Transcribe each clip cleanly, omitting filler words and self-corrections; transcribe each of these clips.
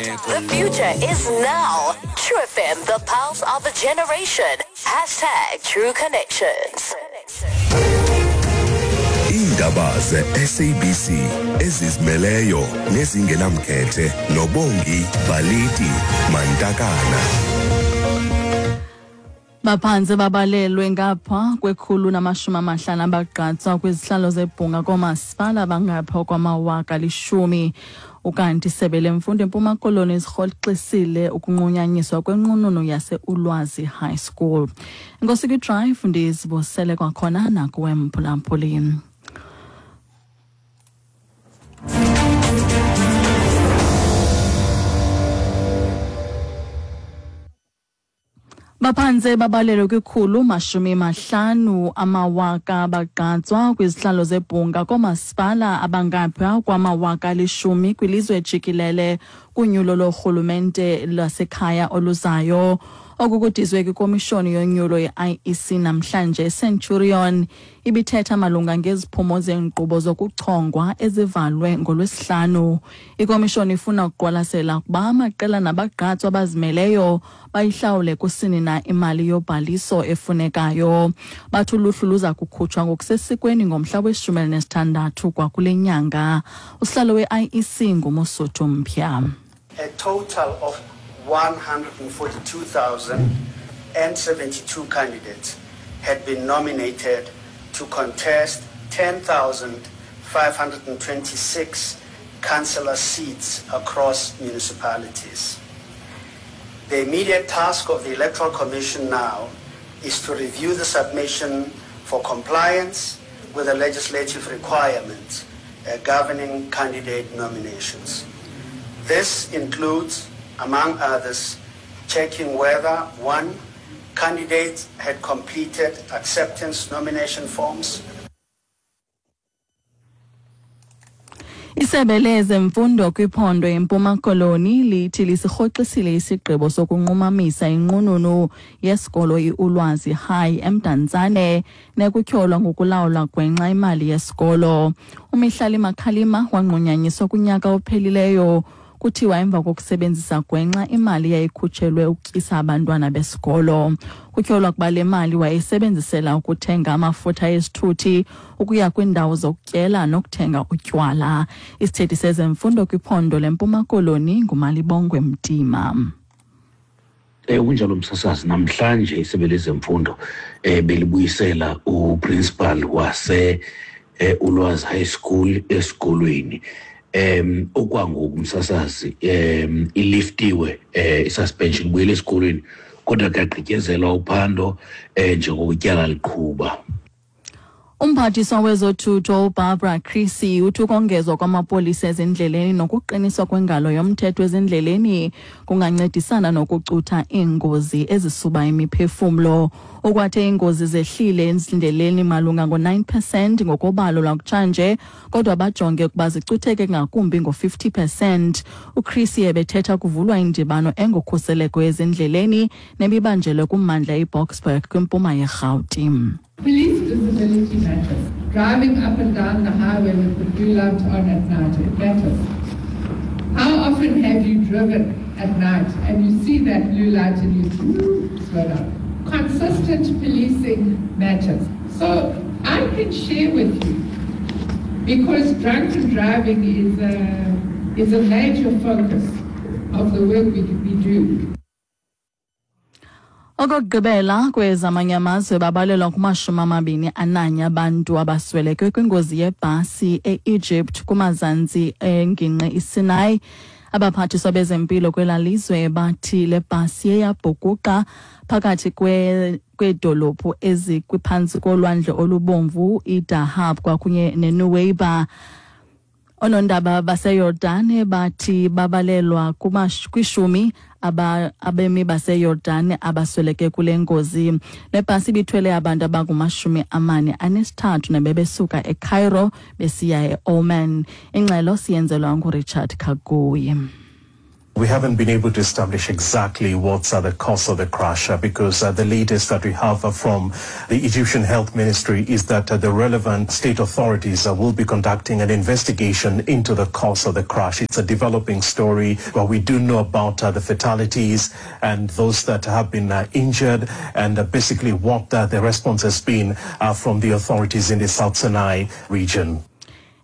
The future is now. True FM, the pulse of a generation. Hashtag True Connections. Iindaba ze-SABC ezizimeleyo nezingenamkhethe noBongi Baliti Mantakana. Baphantse babalelwe ngapha kwekhulu namashumi amahlanu abagqatswa kwizihlalo zebhunga koomasipala bangapha kwamawaka lishumi. Ukanti isebe lemfundo eMpuma Koloni zirhoxisile ukunqunyanyiswa kwenqununu yase-Ulwazi High School. Enkosi kwiDrive, ndizibosele kwakhona nakuwe mphulaphuli. Baphantse babalelwe kwikhulu mashumi mahlanu amawaka bagqatswa kwizihlalo zebhunga koomasipala abangapha kwamawaka alishumi kwilizwe jikelele kunyulo lorhulumente lwasekhaya oluzayo. Oku kudizwe kwikomishoni yonyulo ye-IEC namhlanje eCenturion ibithetha malunga ngeziphumo zeenkqubo zokuchongwa ezivalwe ngolwesihlanu. Ikomishoni ifuna ukuqwalasela ukuba amaqela nabagqatswa abazimeleyo bayihlawule kusini na imali yobhaliso efunekayo. Bathi uluhlu luza kukhutshwa ngokusesikweni ngomhla weshumi elinesithandathu kwakule nyanga. Usihlalo we-IEC nguMosotho Mpya. A total of 142,072 candidates had been nominated to contest 10,526 councillor seats across municipalities. The immediate task of the Electoral Commission now is to review the submission for compliance with the legislative requirements governing candidate nominations. This includes, among others, checking whether, one, candidates had completed acceptance nomination forms. Isebe lezemfundo kwiphondo eMpuma Koloni lithi lisirhoxisile isigqibo sokunqumamisa inqununu yesikolo iUlwazi High eMdantsane nekutyholwa ngokulawula gwenxa imali yesikolo. UMihlali Makhalima wanqunyanyiswa kunyaka ophelileyo kuthiwa emva kokusebenzisa gwenxa imali yayikhutshelwe ukutyisa abantwana besikolo. Kutyholwa ukuba le mali wayeyisebenzisela ukuthenga amafutha esithuthi ukuya kwiindawo zokutyela nokuthenga utywala. Isithethi sezemfundo kwiphondo leMpuma Koloni nguMalibongwe Mtima. Kunjalo msasazi, namhlanje isebe lezemfundo belibuyisela uprincipal wase Ulwazi High School esikolweni. Okwangoku msasazi iliftiwe isuspension, ibuyele esikolweni, kodwa kuyagqityezelwa uphando njengoko ityala liqhuba. Umphathiswa wezothutho uBarbara Creecy uthi ukongezwa kwamapolisa ezindleleni nokuqiniswa kwengalo yomthetho ezindleleni kungancedisana nokucutha iingozi ezisuba imiphefumlo. Ukwathe iingozi zehlile ezindleleni malunga ngo-9 percent ngokobalo lwakutshanje, kodwa bajonge ukuba zicutheke ngakumbi ngo-50 percent. UCreecy ebethetha kuvulwa indibano engokhuseleko ezindleleni nebibanjelwe kummandla iBoksburg kwimpuma yeRhawuti. Police visibility matters. Driving up and down the highway with the blue light on at night, it matters. How often have you driven at night and you see that blue light and you slow down? Consistent policing matters. So I can share with you, because drunken driving is a major focus of the work we do. Okokugqibela kwezamanye amazwe, babalelwa kuma-21 abantu abasweleke kwingozi yebhasi e-Egypt kumazantsi engingqi iSinai. Abaphathiswa bezempilo kwela lizwe bathi le bhasi yeyabhukuqa phakathi kweedolophu ezikwiphantsi kolwandle olubomvu iDahab kwakunye neNuweiba. Oonondaba baseYordane bathi babalelwa kwishumi abemi baseYordane abasweleke kule ngozi. Le bhasi ibithwele abantu abanguma-43 nebebesuka eCairo besiya eOman. Ingxelo siyenzelwa nguRichard Kagoyi. We haven't been able to establish exactly what's the cause of the crash because the latest that we have from the Egyptian Health Ministry is that the relevant state authorities will be conducting an investigation into the cause of the crash. It's a developing story, but we do know about the fatalities and those that have been injured and basically what the response has been from the authorities in the South Sinai region.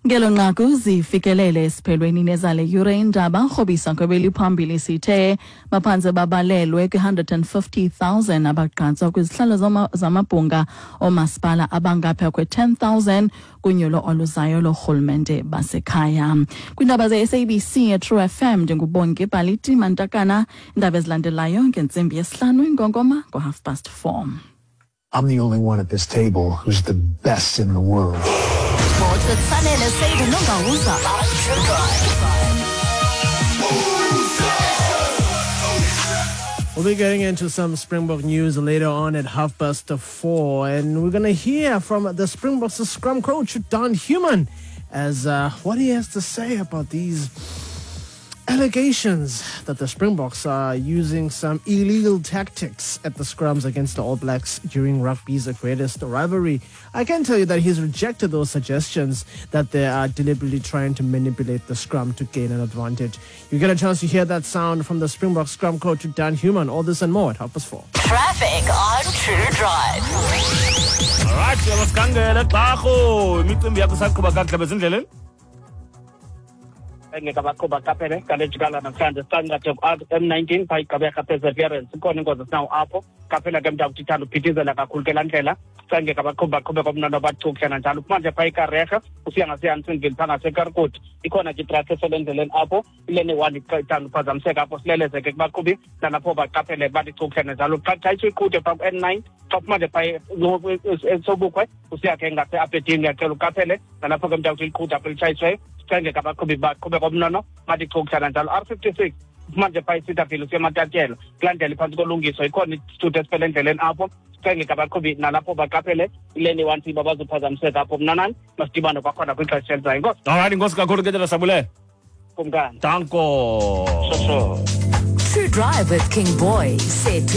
Ngelo nqaku zifikelele esiphelweni nezale yure indaba rhobisa kwebeliphambili sithe baphantse babalelwe kwi-150,000 abagqatswa kwizihlalo zamabhunga oomasipala abangaphaya kwe-10,000 kunyulo oluzayo lorhulumente basekhaya. Kwiindaba ze-SABC eTrue FM ndinguBongi Baliti Mantakana. Iindaba ezilandelayo ngentsimbi yesihlanu, ingongoma ngo-4:30. I'm the only one at this table who's the best in the world. Sports with Sanele Seydu Nongawuza. We'll be getting into some Springbok news later on at 4:30, and we're going to hear from the Springboks scrum coach, Daan Human, as what he has to say about these allegations that the Springboks are using some illegal tactics at the scrums against the All Blacks during rugby's greatest rivalry. I can tell you that he's rejected those suggestions that they are deliberately trying to manipulate the scrum to gain an advantage. You get a chance to hear that sound from the Springbok scrum coach, Daan Human. All this and more at 4:30. Traffic on True Drive. All right, masikangele xarho imicimbi yakho isaqhuba kakuhle bezindleleni. Engeke abaqhuba qaphele ngale jikala namhlanje sicangathe ku-M19 phaa iGqeberha Perseverance, ikhona ingozi esinawo apho. Qaphela ke mntakuthi ithanda uphithizela kakhulu ke laa ndlela. Sicangeke abaqhubi baqhube komnana bathukuhle nanjalo. Manje phaa iKareha usiya ngaseHansonville phaa ngaseKarkut, ikhona ke itraffic esele endleleni apho. Ilene one ithanda uphazamiseka apho, sileleze ke kubaqhubi nalapho baqaphele bathi chukuhle nanjalo. Xa xa iqhude phaa ku-N9 xa manje phaa eSobukhwe usiya ke ngase-Aberdeen, uyacela uqaphele nalapho ke mntakuthi liqhude apho litshayisiweyo. Sicangeke abaqhubi baqhube komnono bathi chukuhle nanjalo. R56 manje phaa iCedar usiya eMatatiele, kulaa ndlela iphantsi kolungiso ikhona isithuthi esiphele endleleni apho. Sicengeke abaqhubi nalapho baqaphele ileni one siba bazophazamiseka apho. Mnanani masidibane kwakhona kwixesha elizayo. Inkosi. All right, inkosi kakhulu ke tata Sabulele. Kumkani. Danko. Sure. True Drive with King Boy, set to